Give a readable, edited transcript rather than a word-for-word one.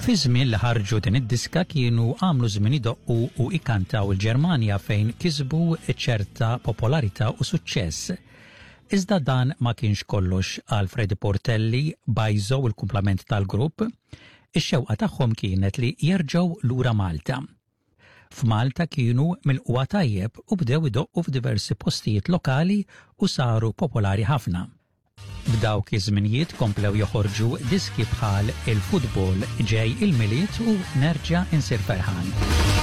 Fi żmien li ħarġu din id-diska kienu għamlu żmien idoqqu u ikantaw il-Ġermanja fejn kisbu ċerta popolarità u suċċess. Iżda dan ma kienx kollox għal Freddie Portelli, Bajzo u l-kumplament tal-grupp. Ix-xewqa tagħhom kienet li jerġgħu lura Malta. F'Malta kienu milqugħa tajjeb u bdew idoqqu f'diversi postijiet lokali u saru popolari ħafna. F'dawk iż-żminijiet komplew joħorġu diski bħal Il-Futbol, Ġej il-Milied u Nerġa' Insir Ferħan.